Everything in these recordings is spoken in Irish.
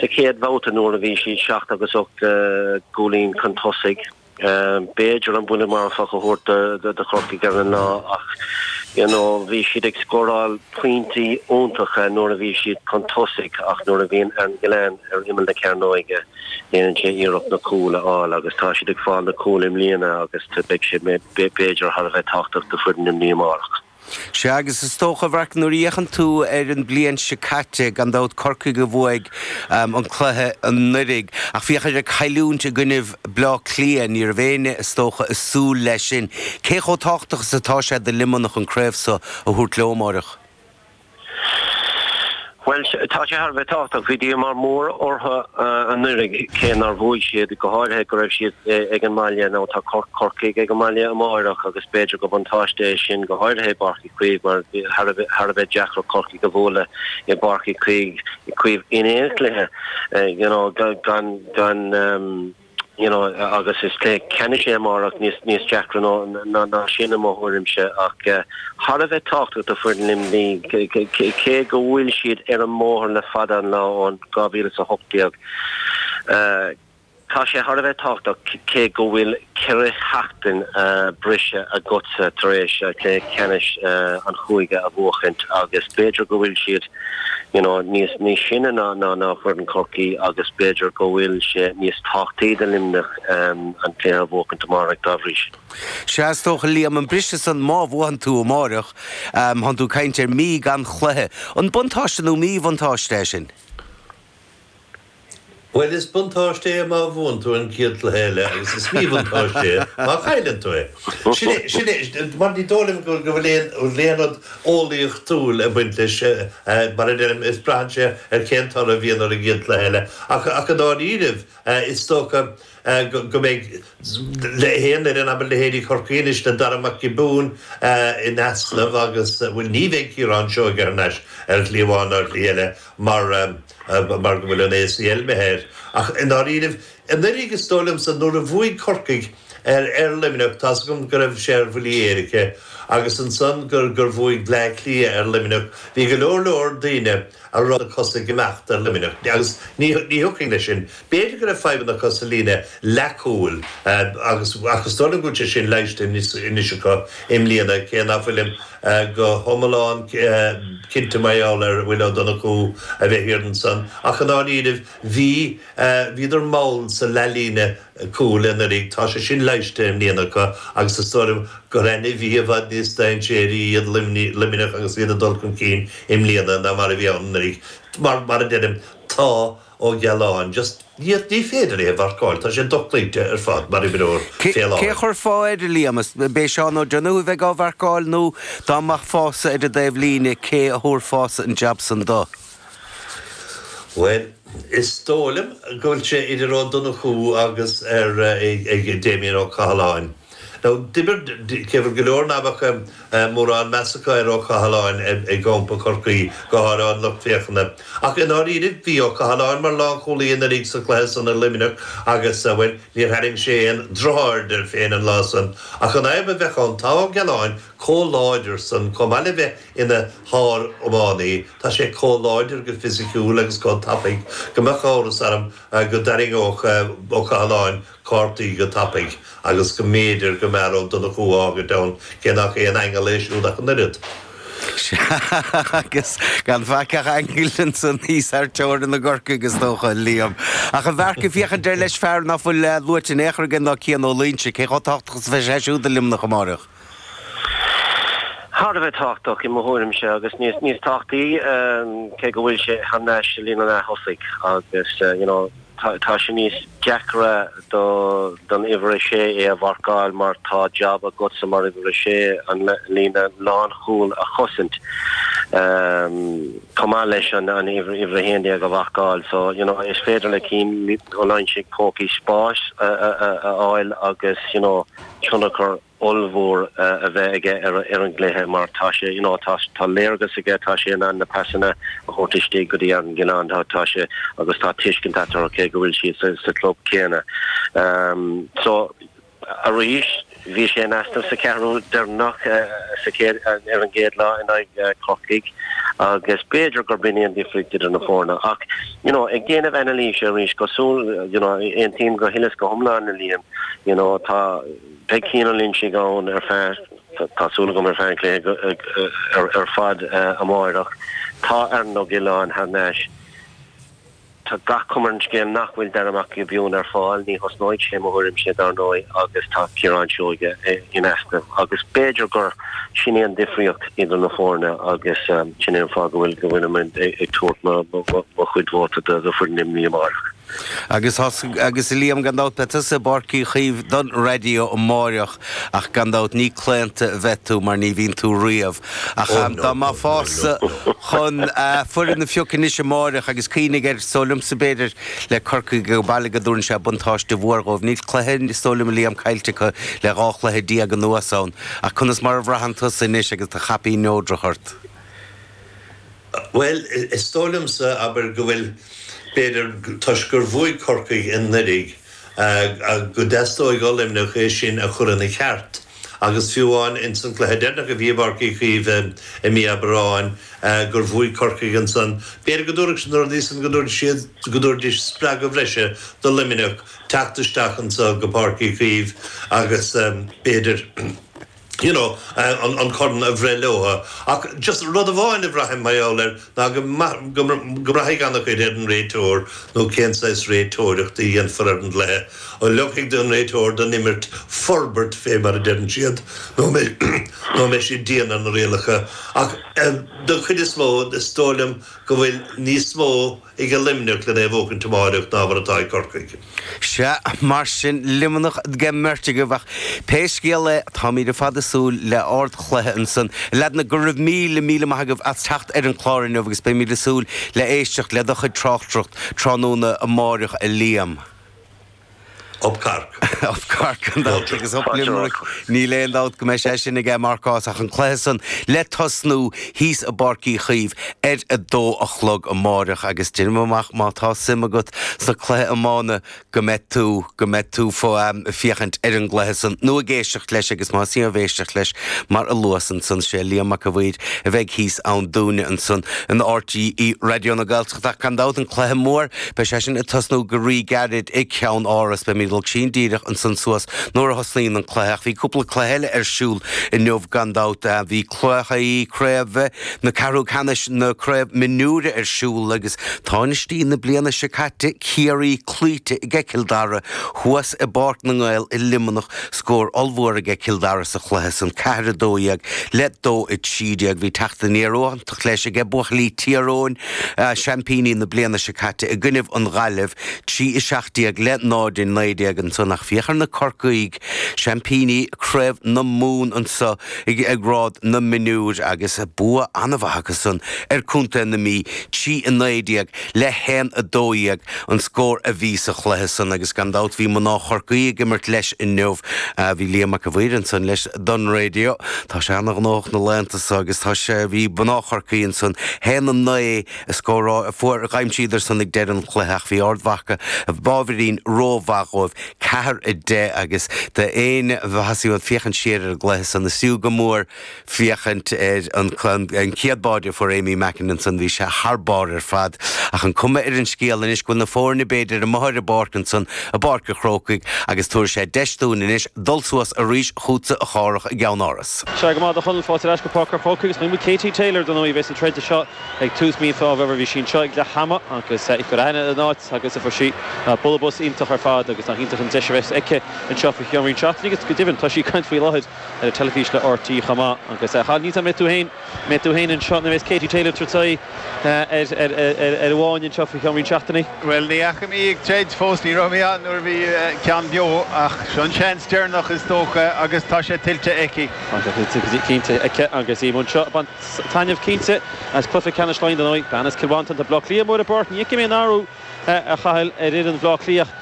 sa chéad bhabhta nuair a bhí siad 7 agus 8 gcúilín chun tosaigh. B'fhéidir an buille marfach a thabhairt do Chorcaigh ar an lá ach you know bhí siad ag scóráil pointí iontacha nuair a bhí siad chun tosaigh ach nuair a bhíonn Aaron Gillane ar imeall na cearnóige déanann sé iarracht na cúil a fháil agus tá siad ag fáil na cúil i mbliana agus beidh sé b'fhéidir thar a bheith tábhachtach do foireann Luimnigh amárach. Sea, agus is dócha, a Mharc, nuair a fhéachann tú ar an bliain seo caite, gan dabht Corcaigh a bhuaigh an cluiche anuraidh, ach féach ar an cailliúint i gcoinnibh Bleá Cliath, ní raibh éinne, is dócha, ag súil leis sin. Cé chomh tábhachtach is atá sé do Luimneach an craobh so a thabhairt leo amáireach? Bhuel, tá sé thar a bheith tábhachtach. Bhí díomá mór orthu anuraidh cé nár bhuaigh siad, go háirithe go raibh siad ag an mbaile. Now tá Corcaigh ag an mbaile amáireach agus b'fhéidir gur buntáiste é sin, go háirithe i bPáirc Uí Chaoimh mar thar a bheith deacair Corcaigh a bhualadh i bPáirc Uí Chaoimh in aon chluiche, you know, gan, gan, you know, agus is cluiche ceannais é amárach, níos, níos deacra ná, ná sin i mo thuairimse ach thar a bheith tábhachtach do foireann Luimnigh cé go bhfuil siad ar an mbóthar le fada an lá ón 2018. Tá sé thar a bheith tábhachtach cé go bhfuil 4 sheachtain briseadh agatsa tar éis cluiche ceannais an chúige a bhuachaint agus b'fhéidir go bhfuil siad you know, níos, níos sine ná, ná, ná foireann Chorcaí agus b'fhéidir go bhfuil sé níos tábhachtaí do Luimneach an cluiche a bhuachaint amárach dá bhrí sin. Sea, is dócha, Liam, an briseadh san, má bhuann tú amáireach, thánn tú ag caint ar mí gan chluiche. An buntáiste nó míbhuntáiste é sin? Bhuel, is buntáiste é má bhuann tú an chéad chluiche eile agus is míbhuntáiste é má chailleann tú é. Sin é, sin é, mar ní dóigh liom go bhfuil aon, aon rud eolaíochtúil ag baint leis, mar a deirim, is braitheann sé ar cén toradh a bhíonn ar an gcéad chluiche eile. Ach, ach i ndáiríribh, is dócha go mbeidh le haon fhoireann, abair leithéidí Chorcaí anois le Darragh Mac Giobúin in easnamh agus, bhuel, ní bheidh Ciarán Seoige thar n-ais ar shlí amháin nó ar shlí eile mar, mar go bhfuil an ACL imithe air. Ach i ndáiríribh, anuraidh is dóigh liomsa nuair a bhuaigh Corcaigh ar ar Luimneach, tá's agam go raibh sé ar bhuillí éirice, agus ansan gur gur bhuaigh Bleá Cliath ar Luimneach, bhí go leor leor daoine a raibh na cosa ag imeacht ar Luimneach agus ní ní thiocfainn leis sin. B'fhéidir go raibh fadhbanna acu sa líne leathchúil agus ach is dóigh liom go bhfuil sé sin leighiste anois acu i mbliana, cé ná fuilim go hiomlán cinnte mar gheall ar Will Ó Donnchú a bheith thiar ansan ach i ndáiríribh bhí, bhíodar mall sa leathlíne cúil anuraidh. Tá sé sin leighiste i mbliana acu agus is dóigh liom gur ainmhí i bhfad níos dainséaraí iad Luimneach agus iad ag dul chun cinn i mbliana ná mar a bhí ann anuraidh. Mar, mar a deirim, tá Ó Gealáin just, ní, ní féidir é a mharcáil, tá sé dochloíte ar fad mar imreoir fé láthair. Cé a chuirfeá air, a Liam? B'é Seán O'Donoghue a bheidh á mharcáil nó dá mbeifeása ar an dtaobh líne, cé a thabharfása an jab san do? Bhuel, is dóigh liom go bhfuil sé idir Ó Donnchú agus ar ag Damien Ó Cathaláin. Now, d'imir, cé go bhfuil go leor ná beadh mórán meas acu ar Ó Cathaláin i gcampa Chorcaí, go háirithe an lucht féachana. Ach i ndáiríribh, bhí Ó Cathaláin mar lánchúlaí anuraidh sa chluiche san i Luimneach agus, bhuel, níor tharraing sé aon drochaird air féin an lá san. Ach an fhadhb a bheadh ann, tá Ó Gealáin chomh láidir san, chomh maith le bheith ina shár-iománaí, tá sé chomh láidir go fisiciúil agus chomh tapaidh go mbeadh amhras orm go dtarraingeodh Ó Cathaláin cártaí go tapaidh agus go mb'fhéidir go mb'fhearr Ó Donnchú a fhágaint ann, cé nach aon aingeal é siúd ach an oiread. Sea, agus gan faic ach aingil ansan thíos thar teorainn i gCorcaigh, is dócha, a Liam. Ach a Mharc, ag féachaint air leis fear ná fuil luaite in aon chor againn ná Cian Ó Loingsigh, cé chomh tábhachtach is a bheidh sé siúd do Luimneach amáireach? Thar a bheith tábhachtach, i mo thuairimse, agus níos níos tábhachtaí, cé go bhfuil sé thar n-ais sa líne leath-thosaigh agus, you know, tá sé níos deacra do don uimhir a sé é a mharcáil mar tá jab agatsa mar uimhir a sé an líne lánchúil a chosaint chomh maith leis an uimhir 11 a mharcáil. So, you know, is féidir le Cian Ó Loingsigh pócaí spáis a fháil agus, you know, tionchar ollmhór a bheith aige ar an gcluiche mar tá sé, you know, tá tá léargas aige, tá sé in ann na pasanna a thabhairt istigh go dtí Aaron Gillane, tá tá sé agus tá tuiscint eatarthu cé go bhfuil siad sa sa club céanna. So arís bhí sé in easnamh sa cheathrú deireanach sa chéad ar an gcéad lá in aghaidh Corcaigh. Agus b'fhéidir gurb in í an difríocht idir na foirne. Ach, you know, ag déanamh anailíse arís, cosúil, you know, aontaím go huile is go hiomlán le Liam, you know, tá, beidh Ciarán Lynch ann ar feadh, tá súil agam ar feadh an chluiche ar fad amáireach. Tá Aaron Ó Giolláin thar n-ais. Tá gach cuma ar an scéal nach bhfuil Darragh Mac Giobúin ar fáil. Ní thosnóidh sé, mo thuairimse, dar ndóigh, agus tá Ciarán Seoige in easnamh. Agus b'fhéidir gur sin í an difríocht idir na foirne agus sin é an fáth go bhfuil go bhfuilim ag tabhairt mo chuid vóta do foireann Luimnigh amárach. Agus agus a Liam, gan dabht beidh tusa i bPáirc Uí Chaoimh don raidió amáireach ach gan dabht ní claonta a bheidh tú mar ní bhíonn tú riamh. Ach dá mbeifeása chun foireann a phiocadh anois amáireach agus cuimhnigh air, is dóigh liomsa b'fhéidir le Corcaigh ag baile go dtabharann sé buntáiste mhór dhóibh. Níl cluiche, is dóigh liom a Liam, caillte acu le 12 chluiche anuas ann. Ach conas mar a bhraitheann tusa anois agus do chaipín neodrach ort? Bhuel, is dóigh liomsa, abair, go bhfuil, b'fhéidir, toisc gur bhuaigh Corcaigh anuraidh, go dteastóidh ó Luimneach é sin a chur ina cheart. Agus fiú amháin ins an gcluiche deireanach a bhí i bPáirc Uí Chaoimh i mí Aibreáin, gur bhuaigh Corcaigh ansan, b'fhéidir go dtabharfadh na rudaí san, go dtabharfaidh siad, go dtabharfaidís spreagadh bhreise do Luimneach teacht isteach anso go Páirc Uí Chaoimh agus b'fhéidir, you know, an corn a bhreith leo. Ach just rud amháin a bhraithim mar gheall air ná go go mbraithfidh an-chuid ar an réiteoir nó cén saghas réiteoireacht a dhéanfar ar an gcluiche. An leogfaidh an réiteoir don imirt forbairt fé mar a deireann siad nó nó an mbeidh siad dian ar na rialacha. Ach don chuid is mó is dóigh liom go bhfuil níos mó ag Luimneach len é a bhuachaint amáireach ná mar atá ag Corcaigh. Sea, mar sin, Luimneach ag an mbeirt agaibh, ach pé scéal é, táimid ar fad ag súil le ardchluiche ansan. A leaideanna, go raibh míle, míle maith agaibh as teacht ar an chlár inniu agus beimid ag súil le éisteacht le do chuid tráchtaireacht tráthnóna amáireach, a Liam. Up Cork. Up Cork gan dabht agus up Limerick. Níl aon dabht go mbeidh sé sin aige marcás ach an cluiche san le tosnú thíos i bPáirc Uí Chaoimh ar a dó a chlog amáireach agus déanaim amach má tá suim agat sna cluiche iomána go mbeidh tú go mbeidh tú fo féachaint ar an gcluiche san nó ag éisteacht leis agus más ea éisteacht leis mar a luas ansan sé Liam Mac a' Mhaoir a bheidh thíos ann dúinne ansan in RTÉ Raidió na Gaeltachta ach gan dabht an cluiche mór Beidh sé sin ag tosnú go rí-ghairid i gCeann Áras. Beimid ag dul tinn díreach ansan suas nuair a thosnaíonn an cluiche. Ach bhí cúpla cluiche eile ar siúl inniu gan dabht. Bhí cluichí craoibhe na ceathrú ceannais na craobh mionúire ar siúl agus tánaistí na bliana seo caite, Ciarraí, cloíte ag Cill Dara thuas i bPáirc na nGael i Luimneach. Scór ollmhór aige Cill Dara sa chluiche san, 4-12 le 2-13. Bhí teacht aniar iontach leis aige buachaillí Thír Eoghain, seaimpíní na bliana seo caite, i gcoinnibh an Ghaillimh, 3-17 le 0-19 ansan. Ach féach ar na Corcaígh, seaimpíní Craobh na Mumhan anso i ngrád na mionúir agus bua an-mhaith acu san ar Contae na Mí, 3-19 le 1-12 an scór a bhí sa chluiche san agus gan dabht bhí mná Chorcaí ag imirt leis inniu. Bhí Liam Mac a' Mhaoir ansan leis don raidió. Tá sé ana-ghnóthach na laethanta so agus tá sé, bhí mná Chorcaí ansan 1-9 a scóráil, fuair, d'aimsíodar san ag deireadh an chluiche ach bhí Ard Mhacha ábhairín rómhaith dhóibh, 4-10 agus d'aon mhaitheas iad féachaint siar ar an gcluiche san is fiú go mór féachaint ar an chéad báide a fuair Amy Mackin ansan, bhí sé thar barr ar fad. Ach an cuma ar an scéal anois go bhfuil na foirne b'fhéidir amuigh ar an bpáirc ansan, i bPáirc an Chrócaigh, agus tabharfaidh sé deis dúinn anois dul suas arís chugatsa a Chárthach i gCeann Áras. Sea, go maith a Chonaill, fáilte ar ais go Páirc an Chrócaigh agus chonaic muid Katie Taylor dar ndóigh a bheas ag troid anseo ag tús mí Fómhair. Bhí sí anseo ag leath ama agus í ag cur aithne ar an áit agus fuair sí bualadh bos iontach ar fad agus nach iontach an deis a bheas aici anseo faoi cheann roinnt seachtainí agus go deimhin tá sí ag caint faoi láthair ar an teilifís le RTÉ chomh maith. Agus a Chathail, níl 's a'm an mbeidh tú féin, mbeidh tú féin anseo nó an mbeidh Katie Taylor ag tabhairt aghaidh ar ar an bhFáinne anseo faoi cheann roinnt seachtainí? Bhuel, ní fhaca mé í ag troid fós, ní raibh mé ann nuair a bhí ceann beo, ach seo an seans deireanach is dócha agus tá sé tuillte aici. Tá sé tuillte cinnte aici agus í anseo ag baint taitneamh cinnte as cluiche ceannais Laighean dar ndóigh. Bean as Cill Mhantáin, tá Bleá Cliath mór i bpáirc, ní fheicim aon athrú a Chathail ar fhoireann Bhaile Átha Cliath.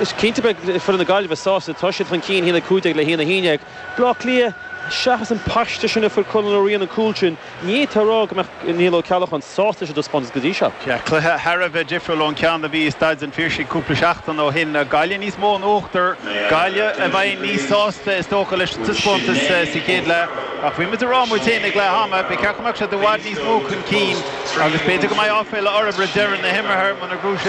Is cinnte beidh foireann na Gaillimhe sásta, tá siad chun cinn 1-15 le 1-11. Bleá Cliath. seachas an paiste sin a fuair Conal Ó Riain an cúl sin, ní fhéadfá a rá go mbeadh Niall Ó Ceallacháin sásta leis an dtaispeántas go dtí seo. Sea, cluiche thar a bheith difriúil ón ceann a bhí i Staid an Phiarsaigh cúpla seachtain ó shin. Gaillimh níos mó in uachtar, Gaillimh a bheidh níos sásta is dócha leis an taispeántas sa chéad leath. Ach bhí muid ag rá muid féin ag leath ama, ba cheart go mbeadh siad i bhfad níos mó chun cinn agus b'fhéidir go mbeidh áiféala orthu roimh deireadh na himeartha muna gcruthaíonn siad.